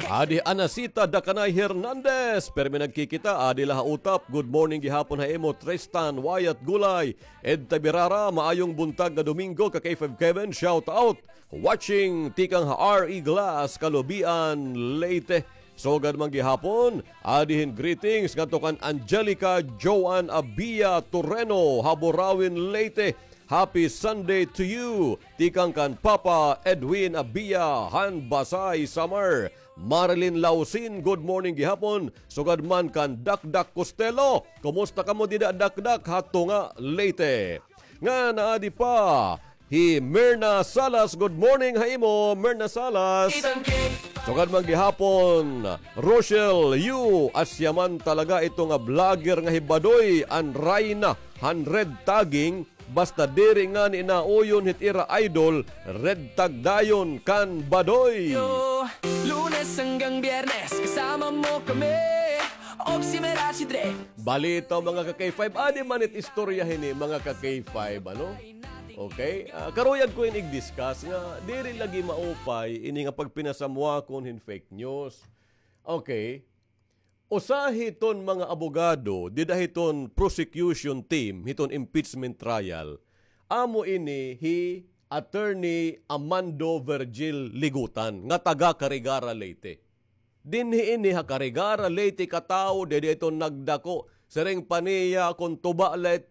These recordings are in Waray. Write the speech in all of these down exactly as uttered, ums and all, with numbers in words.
Adi Anacita Dakanay Hernandez, pirmi nagkikita, adi la ha Utap. Good morning gihapon ha imo, Tristan Wyatt Gulay, Ed Tabirara, maayong buntag nga Domingo, ka K five Kevin, shout out. Watching tikang ha R E Glass, Kalubian, Leyte. Sugad man gihapon, adi hin greetings ngadto kan Angelica Joan Abia Toreno, ha Burauen, Leyte. Happy Sunday to you. Tikang kan Papa Edwin Abia, han Basay, Samar. Marilyn Lausin, good morning gihapon. Sugad man kan Dakdak Costello. Kumusta kamo dida, Dakdak, ha Tunga, Leyte? Ngan adi pa hi Mirna Salas. Good morning ha imo, Mirna Salas. Sugad man gihapon, Rochelle Yu, asya man talaga ito nga vlogger nga hi Badoy, an rayna han red tagging. Basta diri ngani nauyon hit ira idol, red tag dayon kan Badoy. Yo, Lunes hanggang Biyernes, kasama mo kami. Og si Merachi Dre. Balitaw, mga ka-K five, adi man it istorya hini, mga ka-K five, ano? Okay? Ah, karuyag ko ini i-discuss nga diri lagi maupay ini nga pagpinasamwakon hin fake news. Okay? Usa hiton mga abogado dida hiton prosecution team hiton impeachment trial, amo ini hi Attorney Amando Virgil Ligutan nga taga Carigara, Leyte. Dinhi ini ha Carigara, Leyte katawo, dida hiton nagdako. Siring pa niya, kon tuba la it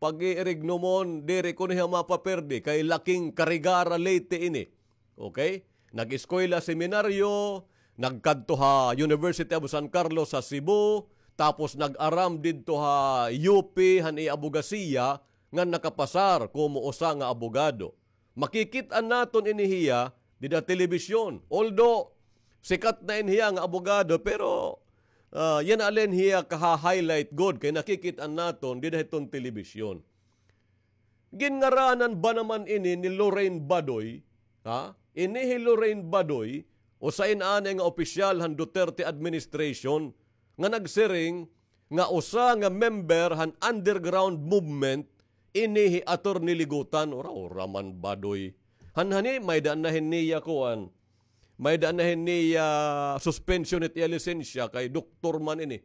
pag-iirignomon, diri kuno hiya mapaperde kay laking Carigara, Leyte ini. Okay? Nag-eskwela seminaryo, nagkadto ha University of San Carlos sa Cebu, tapos nag-aram didto ha U P han iya abogasiya ngan nakapasar komo usa nga abogado. Makikit-an naton ini hiya dida telebisyon. Although, sikat na ini hiya nga abogado, pero, ah, yana la ini hiya kaha-highlight gud kay nakikit-an naton dida hiton telebisyon. Ginngaranan ba naman ini ni Lorraine Badoy? Ha? Ini hi Lorraine Badoy, usa ini anay nga opisyal han Duterte administration nga nagsiring nga usa nga member han underground movement ini hi Attorney Ligutan. Ura-ura man, Badoy. Hanhani, may-ada na hin niya kuan. May-ada na hin niya suspension it iya lisensya kay doktor man ini.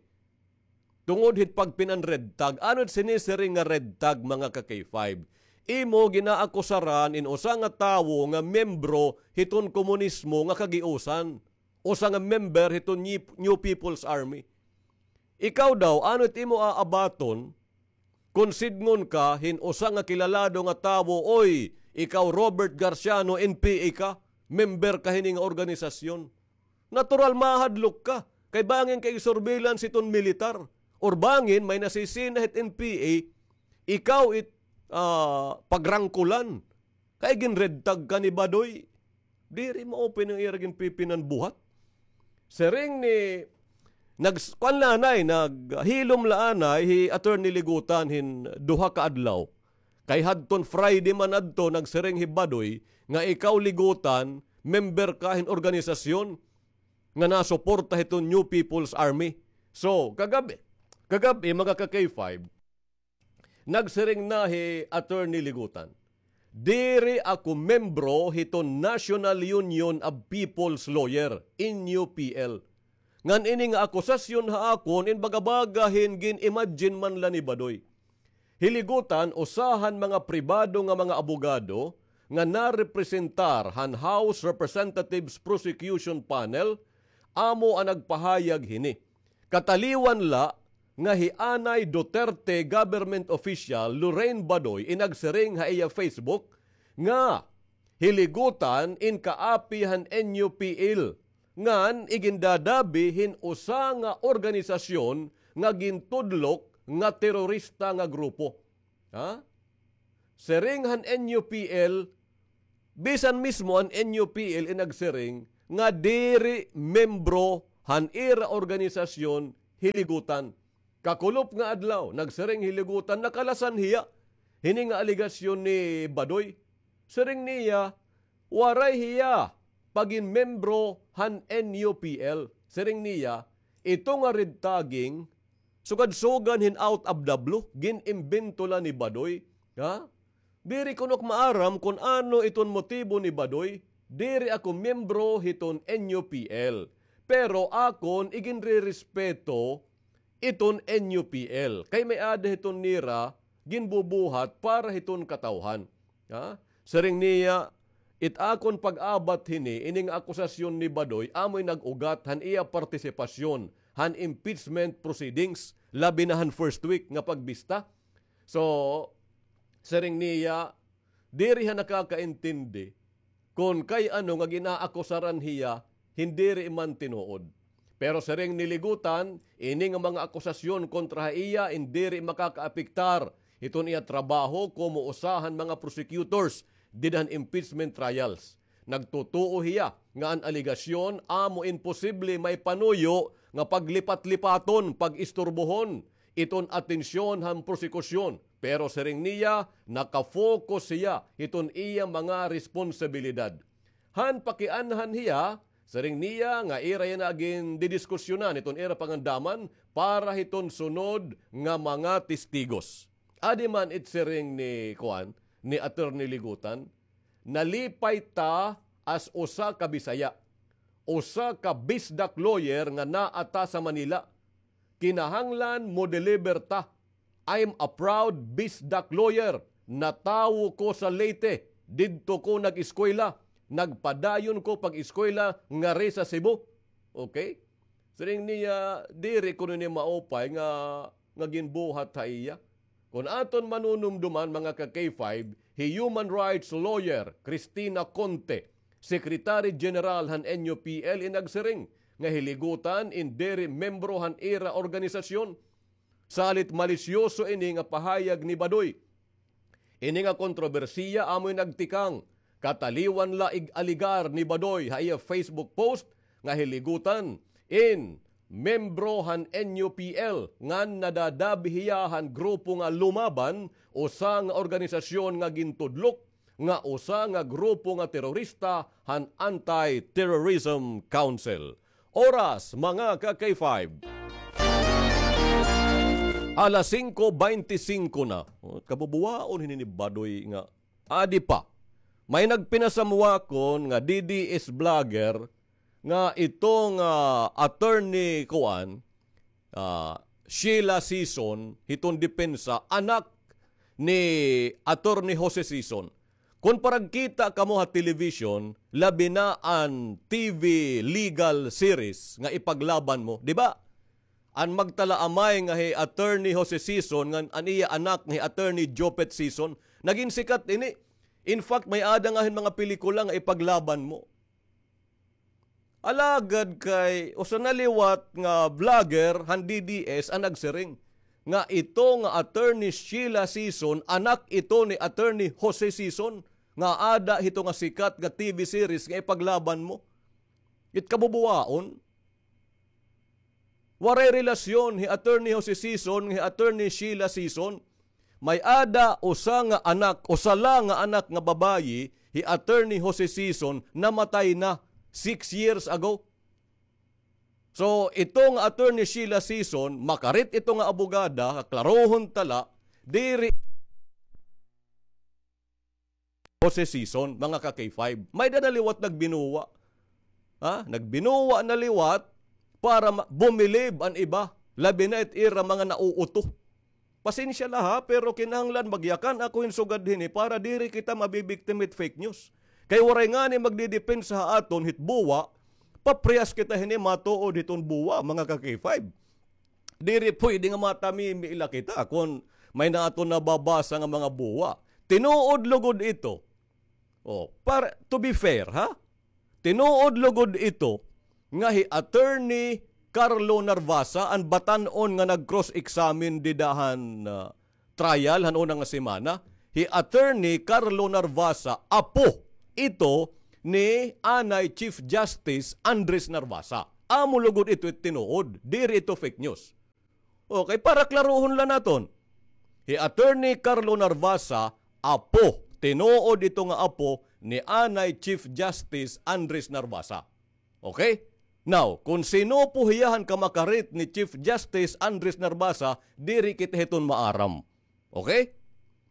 Tungod hit pagpin-an red tag. Ano it sinisiring nga red tag, mga ka-K five? Imo ginaakusaran in usa nga tawo nga miyembro hiton komunismo nga kagiusan. Usa nga member hiton New, New People's Army. Ikaw daw, ano it imo aabaton kon sidngon ka hin usa nga kilalado nga tawo, "Oy, ikaw Robert Garciano, N P A ka, member ka hini nga organisasyon." Natural mahadlok ka. Kay bangin ka ig-surveillance hiton militar. Or bangin may nasisina hit N P A, ikaw it, ah, pagrangkulan. Kay gin-red tag ka ni Badoy. Diri maupay an ira ginpipin-an buhat. Siring ni, nags-, kuan la anay, naghilom la anay hi Attorney Ligutan hin duha ka adlaw. Kay hadton Friday man adto, nagsiring hi Badoy nga ikaw, Ligutan, member ka hin organisasyon nga nasuporta hiton New People's Army. So, kagab-, kagab-i, mga ka-K five, nagsiring na hi Attorney Ligutan, "Diri ako membro hiton National Union of People's Lawyer, N U P L. Ngan ini nga akusasyon ha akon in baga-baga hin gin-imagine man la ni Badoy." Hi Ligutan, usa han mga pribado nga mga abogado nga narepresentar han House Representatives Prosecution Panel, amo an nagpahayag hini. Kataliwan la nga hi anay Duterte government official Lorraine Badoy in nagsiring ha iya Facebook nga hi Ligutan in kaapi han N U P L, ngan igindadabi hin usa nga organisasyon nga gintudlok nga terorista nga grupo. Ha? Siring han N U P L, bisan mismo an N U P L in nagsiring nga diri membro han ira organisasyon hi Ligutan. Kakulop nga adlaw, nagsiring hi Ligutan, nakalasan hiya hini nga alegasyon ni Badoy. Siring niya, waray hiya pagin membro han N U P L. Siring niya, ito nga red tagging, sugad-sugan hin out of the blue, gin-imbento la ni Badoy. Ha? Diri kuno ak maaram kon ano iton motibo ni Badoy. Diri ako miyembro hiton N U P L. Pero akon iginrerespeto iton N U P L. Kay may-ada hiton nira ginbubuhat para hiton katawhan. Ha? Siring niya, it akon pag-abat hini, ini nga akusasyon ni Badoy, amoy nag-ugat han iya partisipasyon han impeachment proceedings, labi na han first week nga pagbista. So, siring niya, diri ha nakakaintindi kon kay ano nga ginaakusaran hiya hin diri man tinuod. Pero siring ni Ligutan, ini nga mga akusasyon kontra ha iya in diri makakaapektar hiton iya trabaho komo usa han mga prosecutors dida han impeachment trials. Nagtutuo hiya nga an alegasyon amo in posible maipanuyo nga paglipat-lipaton, pag-isturbohon iton atensyon han prosekusyon. Pero siring niya, naka-focus hiya hiton iya mga responsibilidad. Han pakianhan hiya, siring niya nga ira yana gindidiskusyonan hiton ira pangandaman para hiton sunod nga mga testigos. Adi man it siring ni, kuan, ni Attorney Ligutan, nalipay ta as usa ka Bisaya, usa ka BISDAC lawyer nga naa ta sa Manila. Kinahanglan mo-deliver ta. I'm a proud BISDAC lawyer. Natawo ko sa Leyte. Didto ko nag-eskwela. Nagpadayon ko pag-eskwela ngari sa Cebu. Okay? Siring niya, diri kuno ini maupay nga, nga ginbuhat ha iya. Kon aton manunumduman, mga ka-K five, hi human rights lawyer Cristina Conte, Secretary General han N U P L, in nagsiring nga hi Ligutan in diri membro han ira organisasyon. Salit malisyoso ini nga pahayag ni Badoy. Ini nga kontrobersiya amoy nagtikang kataliwan la ig-alegar ni Badoy ha iya Facebook post nga hi Ligutan in membro han N U P L ngan nadadabi hiya han grupo nga Lumaban, usa nga organisasyon nga gintudlok nga usa nga grupo nga terorista han Anti-Terrorism Council. Oras, mga ka-K five. Alas singko beintisingko na. O, kabubuwaon hini ni Badoy nga adi pa. May nagpinasamwakon nga D D S vlogger nga itong, ah, attorney kuan, ah, Sheila Sison, hiton depensa, anak ni Attorney Jose Sison. Kon paragkita kamo ha television, labi na an T V legal series nga Ipaglaban Mo, di ba? An magtalaamay nga hi Attorney Jose Sison ngan an iya anak nga hi Attorney Jopet Sison, nagin sikat ini. In fact, may-ada nga hin mga pelikula nga Ipaglaban Mo. Alagad kay usa na liwat nga vlogger han D D S an nagsiring nga ito nga Attorney Sheila Sison, anak ito ni Attorney Jose Sison, nga ada hito nga sikat nga T V series nga Ipaglaban Mo. It kabubuwaon. Waray relasyon hi Attorney Jose Sison ngan hi Attorney Sheila Sison. May-ada usa nga anak, usa la nga anak nga babayi, hi Attorney Jose Sison, namatay na six years ago. So, ito nga Attorney Sheila Sison, makarit ito nga abogada, kaklarohon ta la, diri Jose Sison, mga ka-K five. May-ada na liwat nagbinuwa. Ha? Nagbinuwa na liwat para ma-, bumilib an iba. Labi na it ira mga nauuto. Pasensya la ha, pero kinahanglan magyakan ako hin sugad hini para diri kita mabibiktima hit fake news. Kay waray ngani magdidepensa ha aton hit buwa, paprehas kita hini matuod hiton buwa, mga ka-K five. Diri pwede nga matamimi la kita kon may-ada aton nababasa nga mga buwa. Tinuod lugod ito. Oh, para, to be fair, ha? Tinuod lugod ito nga hi Attorney Carlo Narvasa, an batan-on nga nag-cross-examine dida han, ah, trial han una nga semana, hi Attorney Carlo Narvasa, apo ito ni anay Chief Justice Andres Narvasa. Amo lugod ito it tinuod, diri ito fake news. Okay, para klarohon la naton. Hi Attorney Carlo Narvasa, apo, tinuod ito nga apo ni anay Chief Justice Andres Narvasa. Okay? Now, kon sin-o po hiya han kamakarit ni Chief Justice Andres Narvasa, diri kita hiton maaram. Okay?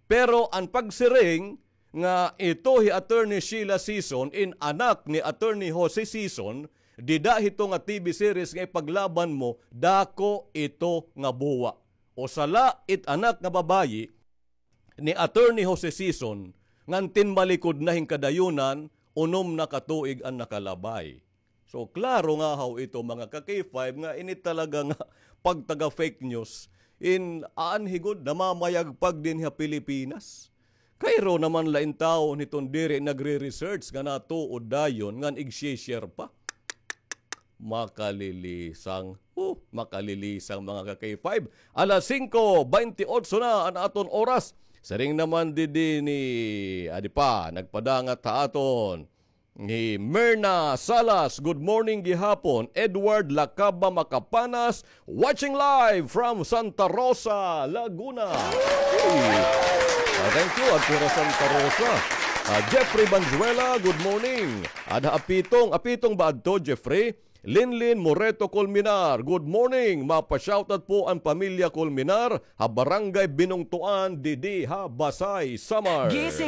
Pero an pagsiring nga ito hi Attorney Sheila Sison in anak ni Attorney Jose Sison, Dida hito nga T V series nga ipaglaban mo, dako ito nga buwa. O sala it anak nga babayi ni Attorney Jose Sison, ngan tinmalikod na hin kadayunan, unom na ka tuig an nakalabay. So, klaro nga haw ito, mga ka-K five, nga ini talaga nga pagtaga fake news, in aanhi gud namamayagpag dinhi ha Pilipinas. Kayro naman la in tawo hiton diri nagre-research nga natuod dayon ngan igsi-share pa. Makalilisang. Oh, makalilisang, mga ka-K five. Alas singko bente otso na an aton oras. Siring naman didi ni, adi pa, nagpadangat ha aton ni Mirna Salas, good morning gihapon. Edward Lacaba Macapanas, watching live from Santa Rosa, Laguna. Hey. Ah, thank you, adto ha Santa Rosa. Ah, Jeffrey Banzuela, good morning. Adha Apitong, Apitong ba adto, Jeffrey? Linlin Moreto Colmenar, good morning. Mapa-shoutout po an pamilya Colmenar ha Barangay Binungtuan, didi ha Basay, Samar. Gising